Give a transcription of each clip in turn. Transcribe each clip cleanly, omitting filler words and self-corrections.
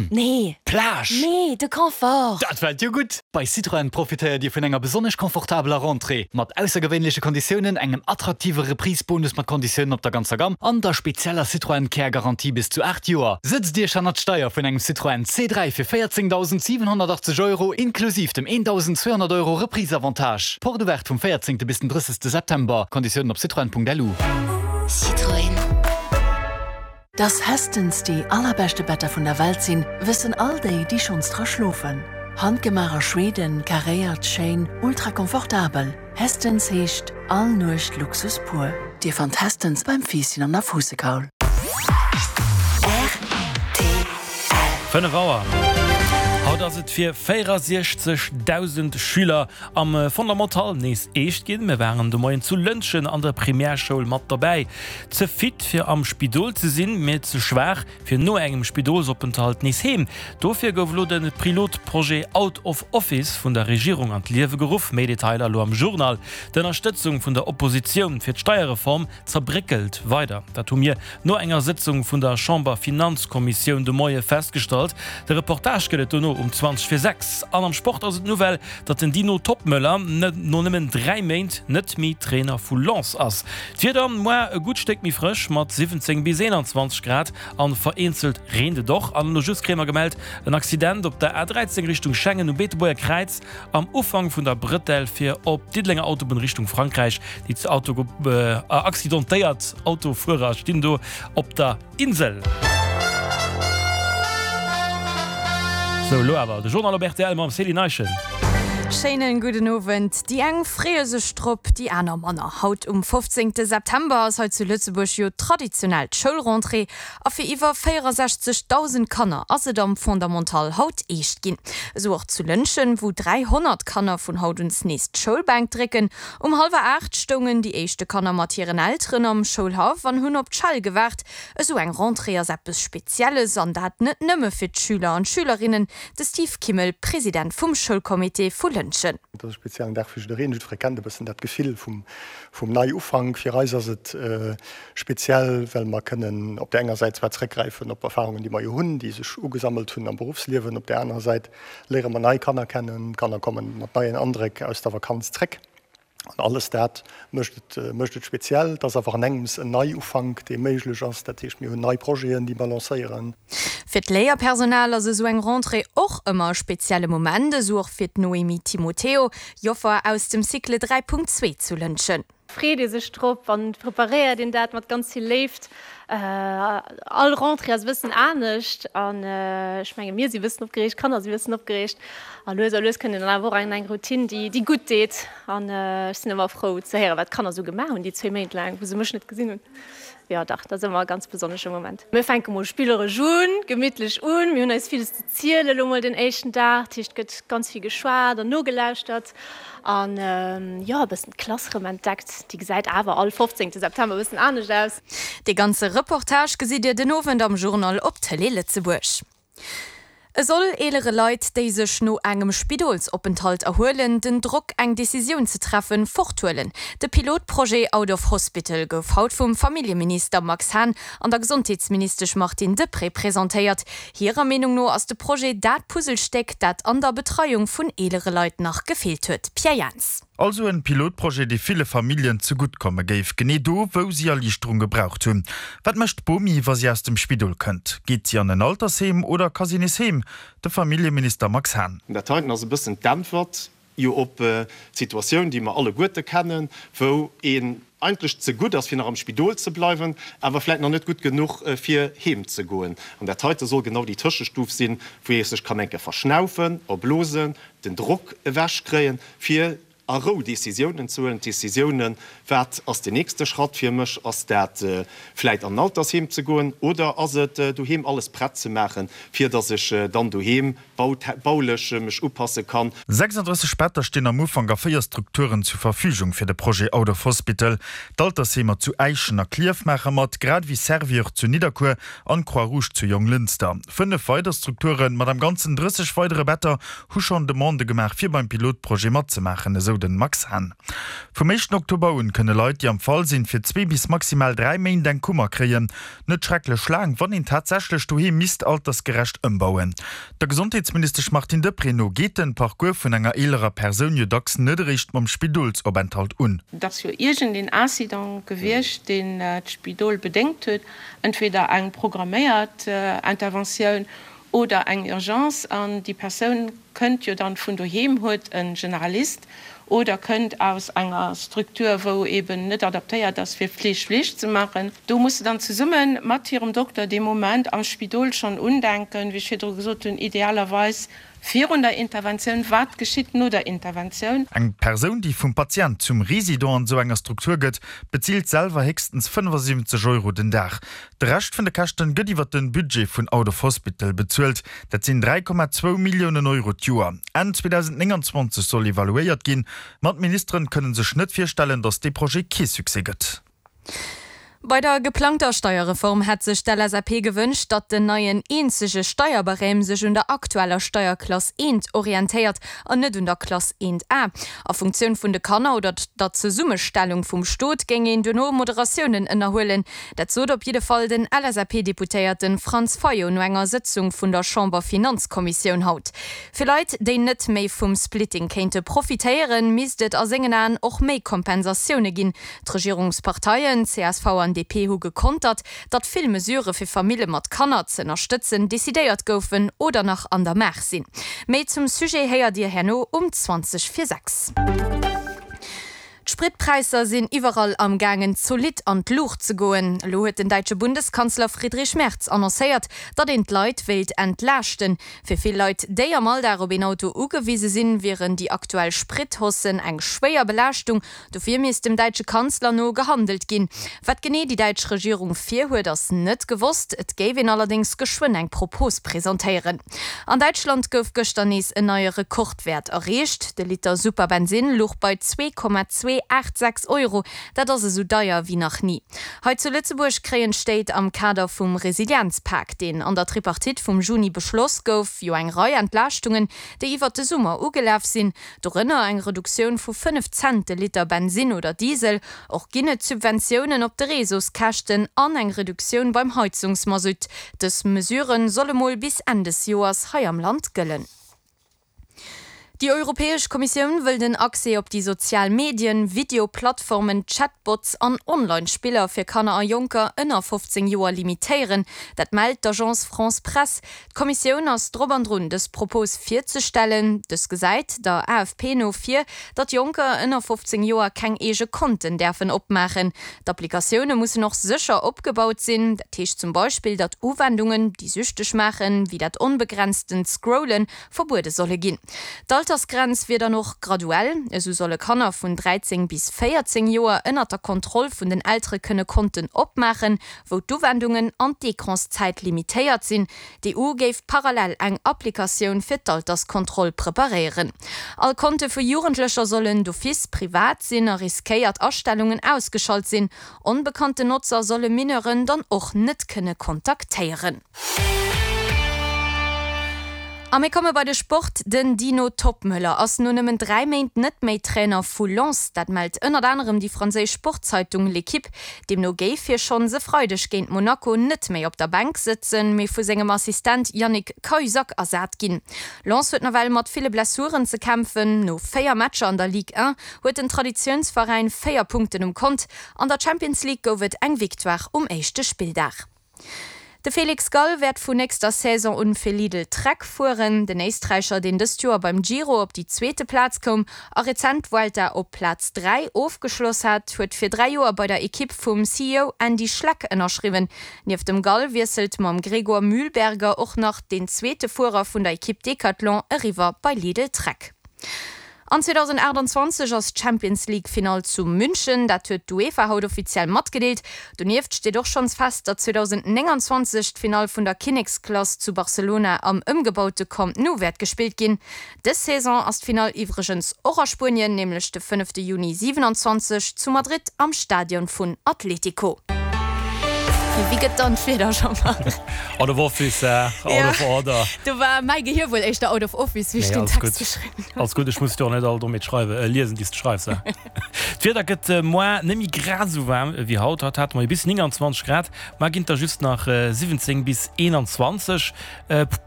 Strand? Nee. Plage? Nee, de Confort! Dat fält jo gutt! Bei Citroën profitéiert Dir vun enger besonnesch confortabeler Rentrée, mat aussergewéinleche Konditiounen, engem attraktive Reprise-Bonus mat Konditiounen op der ganzer Gamm an der spezieller Citroën Care Garantie bis zu 8 Joer. Sëtzt Iech hannert d'Steier vun engem Citroën C3 fir 14.780 Euro inklusiv dem 1.200 Euro Reprise-Avantage. Porte ouverte vum 14. bis den 30. September. Konditiounen op citroën.lu. Citroën. Dass Hästens déi allerbeschte Better vun der Welt sinn, wëssen all déi, déi schonns dra schlofen. Handgemaach a Schweden, karéiert, schéin, ultra komfortabel. Hästens heescht all Nuecht Luxus pur. Dir fannt Hästens beim Fiisschen an der Fuussekaul. Rtl. 5 Auer. Haut ass et fir 64.000 Schüler am Fondamental nees eescht ginn. Mir waren de Moien zu Lëntgen an der Primärschoul mat dobäi. Ze fit fir am Spidol ze sinn, mee ze schwaach fir no engem Spidolsopenthalt nees heem. Dofir gouf elo de Pilotprojet Out of Office vun der Regierung an d'Liewe geruff. Méi Detailer elo am Journal. D'Ënnerstëtzung vun der Oppositioun fir d'Steierreform zerbréckelt weider. Dat hu mir no enger Sëtzung vun der Chamber-Finanzkommissioun de Moie festgestallt. De Reportage gëtt et dono um 20 vir 6. An am Sport ass et d'Nouvelle, datt den Dino Toppmöller no nëmmen 3 Méint net méi Trainer vu Lens ass. D'Wieder, Moar e gutt Stéck méi frësch mat 17 bis 21 Grad an vereenzelt reent et och. An elo just kréie mer gemellt, en Accident op der A13 Richtung Schengen um Beetebuerger Kräiz am Ufank vun der Brëtell fir op d'Diddelenger Autobunn Richtung Frankräich. Déi accidentéiert Autofuerer stinn do op der Insel. Sou, elo awer de Journal op rtl mam Céline Eischen. Schéinen gudden Owend. Déi eng freeë sech drop, déi aner manner. Haut um 15 September ass hei zu Lëtzebuerg jo traditionell d'Schoulrentrée a fir iwwer 64.000 Kanner ass et am Fondamental haut eescht ginn. Esou och zu Lëntgen, wou 300 Kanner vun haut uns nees d'Schoulbänk drécken. Um hallwer 8 stoungen déi éischte Kanner mat hiren Elteren am Schoulhaff an hunn op d'Schell gewaart. Esou eng Rentrée ass eppes Spezielles, an dat net nëmme fir d'Schüler an d'Schülerinnen. De Steve Kimmel, President vum Schoulcomité vu Lëntgen. Et ass e speziellen Dag fir jiddereen. Jiddweree kennt e bëssen dat Gefill vum Neiufank. Fir eis ass et speziell, well mer kënnen op där enger Säit zwar zeréckgräifen op Erfarungen, déi mer jo hunn, déi sech ugesammelt hunn am Beruffsliewen. Op där anerer Säit léiere mer nei Kanner kennen. D'Kanner komme mat neien Andréck aus der Vakanz zréck. An alles dat mécht et, mécht et speziell. Et ass awer an engems en Neiufank, dee méiglech ass. Dat heescht, mir hunn nei Projeten, déi mer lancéieren. Fir d'Léierpersonal ass esou eng Rentrée och ëmmer e spezielle Moment, esou och fir d'Noémie Timoteo, Joffer aus dem Cycle 3.2 zu Lëntgen. Freet ee sech drop an preparéiert een dat mat ganz vill Léift. All Rentrée ass e bëssen anescht an ech menge mir si bëssen opgereegt, d'Kanner si bëssen opgereegt a lues a lues kënnt een dann awer och an eng Routine, déi déi gutt deet an ech sinn ëmmer frou ze héieren, wat d'Kanner esou gemaach hunn déi zwéi Méint laang, wou se mech net gesinn hunn. Jo dach, dat ass ëmmer e ganz besonnesche Moment. Mir fänke mol spilleresch un, gemittlech un, mir hunn eis villes ze ziele lo mol den éischten Dag, dat heescht et gëtt ganz vill geschwat an nogelauschtert. An jo, e bëssen d'Klass rëm entdeckt. Déi gesäit awer all 15 September e bëssen anescht aus. Dee ganze Reportage gesitt Dir den Owend am Journal op Tëlee Lëtzebuerg. E soll eelere Leit, déi sech no engem Spidolsopenthalt erhuelen, den Drock eng Decisioun ze treffen, forthuelen. De Pilotprojet Out of Hospital gouf haut vum Familljeminister Max Hahn an der Gesondheetsministesch Martine Deprez presentéiert. Hirer Meenung no ass de Projet dat Puzzlestéck, dat an der Betreiung vun eelere Leit nach gefeelt huet. Pierre Jans. Also en Pilotprojet, dee ville Familljen zegutt komme géif, genee do, wou si Erliichterung gebraucht hunn. Wat mécht d'Bomi, wa si aus dem Spidol kënnt? Geet si an en Altersheem oder ka si nees heem? De Familljeminister Max Hahn. Dat heiten ass e bëssen d'Äntwert jo op d'Situatioun, déi mer alleguerte kennen, wou een eigentlech ze gutt ass, fir nach am Spidol ze bleiwen, awer vläicht nach net gutt genuch, fir heem ze goen. An dat heite soll genau déi Tëschestuf sinn, wou ee sech kann eng Kéier verschnaufen, erblosen, den Drock ewechkréien, fir a Rou Décisiounen ze huelen. D'Décisiounen, Wat ass den nächste Schratt fir mech? Ass dat vläicht an en Altersheem ze goen oder ass et doheem alles prett ze maachen, fir datt ech dann doheem baulech mech upasse kann. 36 Better stinn am Ufank a 4 Strukturen zur Verfügung fir de Projet Out of Hospital. D'Altersheemer zu Äischen a Klierf maache mat, grad ewéi Servior zu Nidderkuer an d'Croix Rouge zu Jonglënster. 5 weider Strukture mat am Ganzen 30 weidere Better hu schonn Demandë gemaach fir beim Pilotprojet matzemaachen, esou. esou den Max Hahn. Vum éischten Oktober un kënne Leit, déi am Fall sinn, fir zwee bis maximal 3 Méint eng Kummer kréien. Net schrecklech laang, wann een tatsächlech doheem misst altersgerecht ëmbauen. Der Gesondheetsministesch Martine Deprez no geet den Parcours vun enger eelerer Persoun jo dacks net eréischt mam Spidolsopenthalt un. Et ass jo iergendeen Incident gewiescht, deen d'Spidol bedéngt huet, entweder eng programméiert Interventioun oder eng Urgence, an déi Persoun kënnt jo dann vun doheem, huet e Generalist oder kënnt aus enger Structure, wou eben net adaptéiert ass fir Fleeg Fleeg ze maachen. Do muss se dann zesumme mat hirem Dokter dee Moment am Spidol schonn undenken, wéi ech virdru gesot hunn, idealerweis virun der Interventioun, wat geschitt no der Interventioun. Eng Persoun, déi vum Patient zum Résident an esou enger Struktur gëtt, bezilt selwer héchstens 75 Euro den Dag. De Rescht vun de Käschten gëtt iwwer den Budget vun Out of Hospital bezuelt. Dat sinn 3,2 Milliounen Euro d'Joer. Enn 2029 soll evaluéiert ginn, ma d'Ministeren kënnen sech net virstellen, datt dee Projet kee Succès gëtt. Bei der geplangter Steierreform hätt sech d'LSAP gewënscht, datt den neien eenzege Steierbarème sech un der aktueller Steierklass eent orientéiert an net un der Klass eent A. A Funktioun vun de Kanner oder der Zesummestellung vum Stot géing een duerno Moderatiounen ënnerhuelen. Dat sot op jidde Fall den LSAP-Deputéierte Franz Fayot no enger Sëtzung vun der Chamber-Finanzkommissioun haut. Fir Leit, déi net méi vum Splitting kéinte profitéieren, misst et a sengen Aen och méi Kompensatioune ginn. D'Regierungsparteien csv an DP hu gekontert, datt vill Mesurë fir Famille mat Kanner ze ënnerstëtzen decidéiert goufen oder nach an der Maach sinn. Méi zum Sujet héiert Dir herno um 20 vir 6. D'Spritpräisser sinn iwwerall am gaangen zolidd an d'Luucht ze goen. Elo huet den däitsche Bundeskanzler Friedrich Merz annoncéiert, datt een d'Leit wéilt entlaaschten. Fir vill Leit, déi am Alldag op een Auto ugewise sinn, wieren déi aktuell Sprit-Haussen eng schwéier Belaaschtung. Dofir misst dem däitsche Kanzler no gehandelt ginn. Wat genee déi däitsch Regierung virhuet, ass net gewosst. Et géif een allerdéngs geschwënn eng Propos presentéieren. An Däitschland gouf gëschter nees en neie Rekordwäert erreecht. De Liter Superbensinn luch bei 2,286 Euro. Dat ass esou deier wéi nach ni. Hei zu Lëtzebuerg kréien d'Stéit am Kader vum Resilienzpak, deen an der Tripartite vum Juni beschloss gouf, jo eng Rei Entlaaschtungen, déi iwwert de Summer ugelaf sinn. Dorënner eng Reduktioun vu 5 Cent de Liter Bensinn oder Diesel. Och ginn et Subventiounen op de Réseauskäschten an eng Reduktioun beim Heizungsmasutt. Dës Mesure solle mol bis Enn des Joers hei am Land gëllen. Déi Europäesch Kommissioun wëll den Accès op déi sozial Medien, Videoplattformen, Chatbots an Online-Spiller fir Kanner a Jonker ënner 15 Joer limitéieren. Dat mellt d'Agence France Presse. D'Kommissioun ass drop an drun, dës Propos virzestellen. Dës gesäit der AFP no vir, datt Jonker ënner 15 Joer keng eege Konten däerfen opmaachen. D'Applikatioune mussen och sécher opgebaut sinn. Dat heescht zum Beispill, datt Uwendungen, déi süchteg maachen, wéi dat onbegrenztent Scrollen, verbuede solle ginn. D'Altersgrenz wier dann och graduell. Esou solle Kanner vun 13 bis 14 Joer ënnert der Kontroll vun den Eltere kënne Konten opmaachen, wou d'Uwendungen an d'Ecranszäit limitéiert sinn. D'EU géif parallel eng Applikatioun fir d'Alterskontroll preparéieren. All Konte vu Jugendlecher sollen d'office privat sinn a riskéiert Astellungen ausgeschalt sinn. Onbekannten Notzer solle Mineuren dann och net kënne kontaktéieren. A mir komme bei de Sport, Den Dino Toppmöller ass no nëmmen 3 Méint net méi Trainer vu Lens. Dat mellt ënnert anerem déi franséisch Sportzeitung L'Equipe. Deemno géif hie schonns e Freideg géint Monaco net méi op der Bänk sëtzen, mee vu sengem Assistent Yannick Cahuzac ersat ginn. Lens huet nawell mat ville Blessuren ze kämpfen. No 4 Matcher an der Ligue 1 huet den Traditiounsveräin 4 Punkten um Kont. An der Champions League gouf et eng Victoire um éischte Spilldag. De Felix Gall wäert vu nächster Saison un fir Lidl Trek fueren. Den Éisträicher, deen dëst Joer beim Giro op déi zweete Plaz koum a rezent d'Vuelta op Plaz 3 ofgeschloss hat, huet fir 3 Joer bei der Ekipp vum CEO Andy Schleck ënnerschriwwen. Nieft dem Gall wiesselt mam Gregor Mühlberger och nach deen zweete Fuerer vun der Ekipp Decathlon eriwwer bei Lidl Trek. An 2028 ass d'Champions League Finall zu München, dat huet d'UEFA haut offiziell matgedeelt. Donieft steet och schonns fest, datt 2029 d'Finall vun der Kinneksklass zu Barcelona am ëmgebaute Camp Nou wäert gespillt ginn. Dës Saison ass d'Finall iwwregens och a Spuenien, nämlech de fënnefte Juni 27 zu Madrid am Stadion vun Atlético. Wéi gëtt dann d'Wieder, Jean-Marc? Out of office, out of order. Do war mäi Gehier wuel éischter out of office, wéi ech deen Text geschriwwen hunn. Alles gutt, ech muss jo och net all Dommheet schreiwen, liesen, déi s de schreifs. D'Wieder gëtt moar net méi grad esou waarm ewéi haut. Haut hate mer jo bis 29 Grad, mar ginn et der just nach 17 bis 21.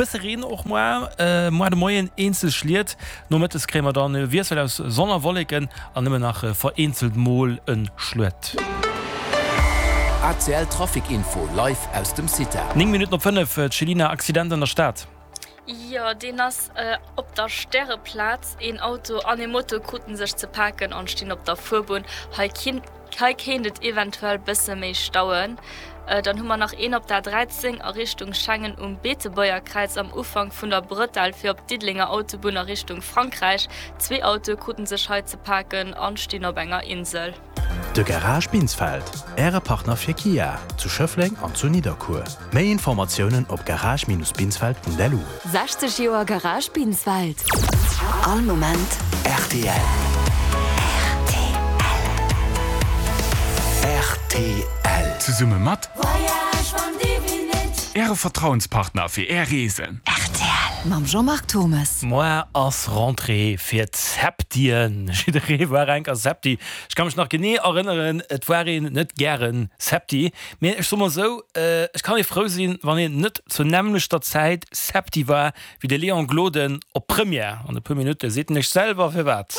Bësse Reen och moar, moar de Moien eenzel Schliet. Nomëttes kréie mer dann e Wiessel aus Sonn a Wolleken an nëmmen nach vereenzelt mol e Schluet. ACL Trafic Info live aus dem CITA. 9 Minutten op 5, Céline, Accident an der Stad. Jo, deen ass op der Stäreplaz. Een Auto an ee Moto kruten sech ze paken an stinn op der Fuerbunn. Hei Hei kéint et eventuell bësse méi stauen. Dann hu mer nach een op der 13 a Richtung Schengen um Beetebuergerkräiz am Ufank vun der Bretelle fir op d'Diddelenger Autobunn a Richtung Frankräich. Zwee Autoe kruten sech hei ze paken an stinn op enger Insel. De Garage Binsfeld, Äre Partner fir Kia, zu Schëffleng an zu Nidderkuer. Méi Informatiounen op garage-binsfeld.lu. 60 Joer Garage Binsfeld. All Moment rtl. Rtl. Zesumme mat Äre Vertrauenspartner fir Är Reesen. Rtl mam Jean-Marc Thommes. Moar ass Rentrée fir d'Septien. Jidderee war enker Septi. Ech ka mech nach genee erënneren, et war een net gären Septi. Mee ech soe mol esou, ech kann ee frou sinn, wann een net zur nämmlechter Zäit Septi war wéi de Léon Gloden op Première. An e puer Minutte seet en iech selwer firwat.